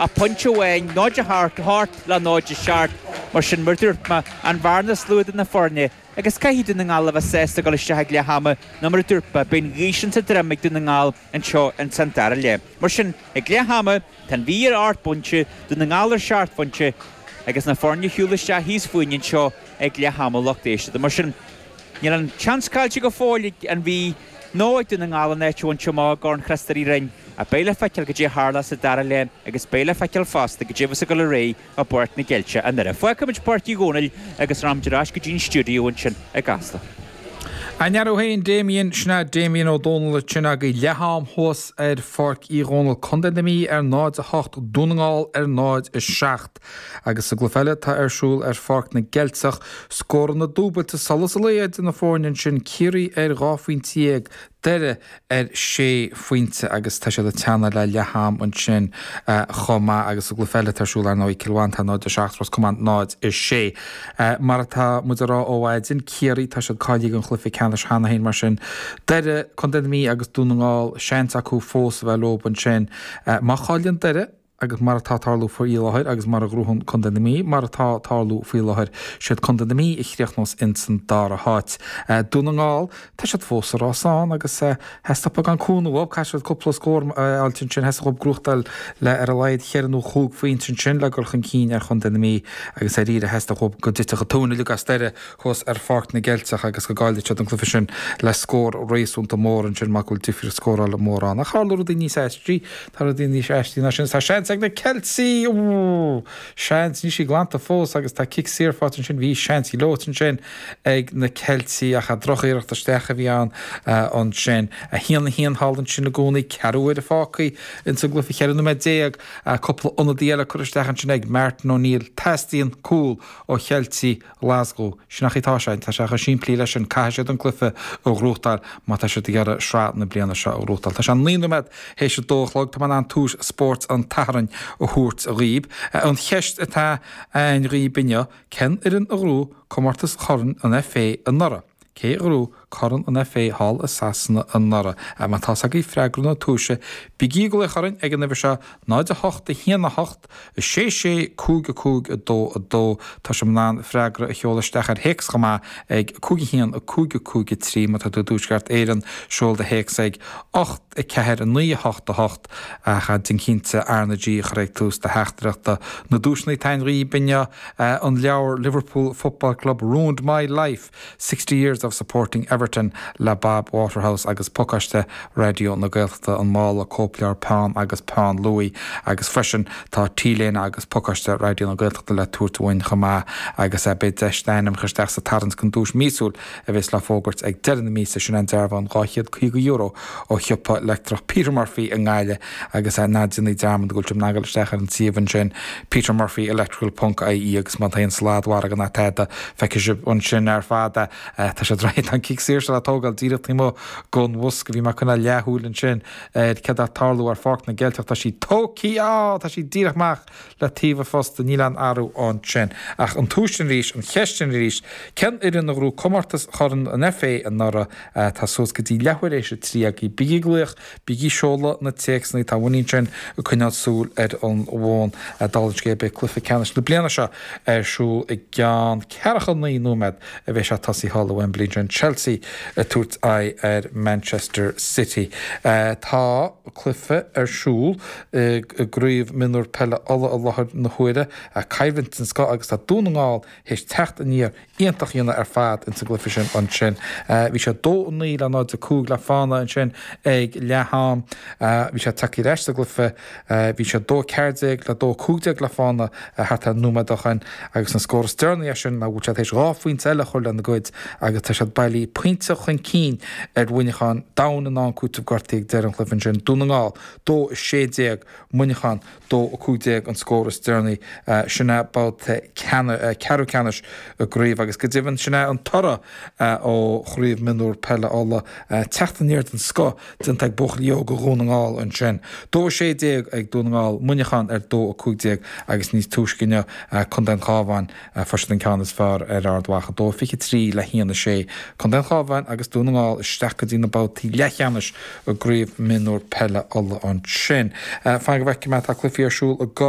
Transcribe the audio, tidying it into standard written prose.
ach pointe amháin, 0-8, 8 le 0-7. Mar sin, mar a dúirt mé, an bhearna is lú idir na foirne agus caithfidh Dún na nGall a bheith sásta dul isteach ag leath ama nó mar a dúirt mé, beidh an ghaoth sin sa droim ag Dún na nGall anseo ins an dara leath. Mar sin, ag leath ama, tá an Mhí ar ocht bpointe, Dún na nGall ar sheacht bpointe agus na foirne ag siúl isteach thíos fúinn anseo ag leath ama lucht éisteachta. Mar sin, níl an seans caillte go fóill ag an Mhí nó ag Dún na nGall an áit a bhaint amach i gCorn Chríost Rí Roinn ach beidh le feiceáil goidé a tharlós sa dara leath agus beidh le feiceáil fosta goidé a bheas ag dul ar aghaidh i bPáirc na gCeilteach i nDoire. Fágfaimid Páirc Uí Dhónaill agus rachaimid ar ais go dtí an stiúideo ansin i gCasla. Go ndea thú féin Damien, sin é Damien Ó Dónaill ansin agaibh leath am thuas ar Pháirc Uí Dhónaill, Contae na Mí ar 0-8, Dún na nGall ar 0-7. Agus sa gcluiche eile atá ar siúl ar Pháirc na gCeilteach, scóranna dúbailte solas an lae idir na foirne ansin, Ciarraí ar 12 phointe, Doire ar sé phointe agus tá siad ag teannadh le leath am ansin chomh maith agus sa gcluiche eile atá ar siúl ar ndóigh Cill Mhantáin 0-7 Ros Comáin 0-6. Mar atá muid a rá ó mhaidin, Ciarraí tá siad cáilithe don chluiche ceannais cheana féin mar sin Doire, Contae na Mí agus Dún na nGall seans acu fós a bheith leo ansin. Má chailleann Doire, Agus mar atá ag tarlú faoi láthair, agus mura ngnóthaíonn Contae na Mí, mar atá ag tarlú faoi láthair, siad Contae na Mí a chríochnós ins an dara háit. Dún na nGall, tá siad fós sa rás ann agus theastaigh beagán cúnamh uathu, caithfidh siad cúpla scór a fháilt ansin, theastaigh uathu gnóthachtáil le ar a laghad cheithre nó chúig phointe ansin le dul chun cinn ar Chontae na Mí agus dáiríre theastaigh uathu go dtitfeadh an tóin uilig as Doire thuas ar Pháirc na gCeilteach agus go gcaillfeadh siad an cluiche sin le scór réasúnta mór ansin mar go bhfuil difríocht scórála mór ann. Ach tharla rudaí níos aistí, tá rudaí níos aistí ná sin. Tá seans ag na Ceiltigh! Ooh! Seans, níl sí glanta fós agus tá cic saor faighte ansin, bhí seans gleoite ansin ag na Ceiltigh ach drochiarracht isteach a bhí ann ansin. 1-1 thall ansin i gcónaí, ceathrú uaire fágtha ins an gcluiche, 14 nóiméad, cúpla ionadaí eile curtha isteach ansin ag Martin O'Neill. Teastaíonn cúl ó Cheiltigh Ghlaschú. Sin an chaoi atá sé. Tá sé chomh simplí leis sin. Caithfidh siad an cluiche a ghnóthachtáil má tá siad ag iarraidh sraith na bliana seo a ghnóthachtáil. Tá sé 9 nóiméad théis a dó a chlog. Tá mé in ann tomhais spóirt an tSathairn a thabhairt dhaoib. An cheist atá a'inn dhaoib inniu, cén fhoireann a ghnóthaigh comórtas Chorn an FA anuraidh? Cé a ghnóthaigh Corn an FA thall i Sasana anuraidh? Má tá's agaibh freagra na tomhaise, bígí ag glaoch orainn ag an uimhir seo, 0 8 1 8 6 6 5 5 2 2. Tá sibh in ann freagra a sheoladh isteach ar théacs chomh maith ag 5 1 5 5 3. Má tá tú i dTuaisceart Éireann, seol do théacs ag 8 4 9 8 8 ach déan cinnte R na G a chur ag tús do theachtaireachta. Na duaiseanna atá a'inn dhaoib inniu, an leabhar Liverpool Football Club Ruined My Life, 60 Years of Supporting Everton le Bob Waterhouse agus pacáiste Raidió na Gaeltachta, an mála, cóipleabhar, peann agus peann luaidhe agus freisin tá T-léine agus pacáiste Raidió na Gaeltachta le tabhairt uainn chomh maith agus beidh deis d'ainm a chur isteach sa tarraingt don duais míosúil a bheas le fógairt ag deireadh na míosa, sin an dearbhán €250 ó shiopa leictreach Peter Murphy i nGaillimh agus ná déanaigí dearmad go bhfuil sibh in ann dul isteach ar an suíomh ansin petermurphyelectrical ponc ie agus má tá aon sladmhargadh ná tada feicfidh sibh ansin ar fad é. Tá sé réidh, tá an cic saor seo le tógáil díreach taobh amuigh den bhosca. Bhí mé ag coinneáil leathshúil ansin ar céard atá ag tarlú ar Pháirc na gCeilteach. Tá sí tógtha, á, tá sí díreach amach le taobh an phosta, níl aon athrú ansin. Ach an tomhas sin arís, an cheist sin arís, cén fhoireann a ghnóthaigh comórtas Chorn an FA anuraidh? Tá suas go dtí leathuair théis a 3 agaibh. Bígí ag glaoch, bígí ag seoladh na téacsanna, tá Winnie ansin ag coinneáil súil ar an bhfón. Dála an scéil, beidh cluiche ceannais na bliana seo ar siúl i gceann ceathracha 9 nóiméad a bheidh sé tosaithe thall i Wembley ansin, Chelsea ag tabhairt aghaidh ar Manchester City. Tá cluiche ar siúl i gCraobh Mionúr Peile Uladh i láthair na huaire, coimhlint den scoth agus tá Dún na nGall théis teacht aniar iontach a dhéanamh ar fad ins an gcluiche sin ansin. Bhí sé 2-9 le 0-5 le fána ansin ag leath am. Bhí sé tagtha ar ais sa gcluiche. Bhí sé 2-14 le 2-15 le fána thart ar nóiméad ó shin agus an scór is deireanaí as sin ná go bhfuil siad théis dhá phointe eile a chur lena gcuid agus tá siad bailí pointe chun cinn ar Mhuineachán domhain in ann cúiteamh gortaithe ag deireadh an chluiche ansin. Dún na nGall 2-16, Muineachán 2-15 an scór is deireanaí. Sin é babhta ceathrú ceannais i gcraobh agus go deimhin sin é an toradh ó Chraobh Mionúr Peile Uladh. Teacht aniar den scoth déanta ag buachaillí óga Dhún na nGall ansin. 2-16 ag Dún na nGall, Muineachán ar 2-15 agus níos túisce inniu Contae an Chabháin, fuair siad an ceann is fearr ar Ard Mhacha, 2-23 le 1-6. Contae an Chabháin agus Dún na nGall isteach go dtí na babhtaí leathcheannais i gCraobh Mionúr Peile Uladh ansin. Fan go bhfeicfidh mé, tá cluichí ar siúl i.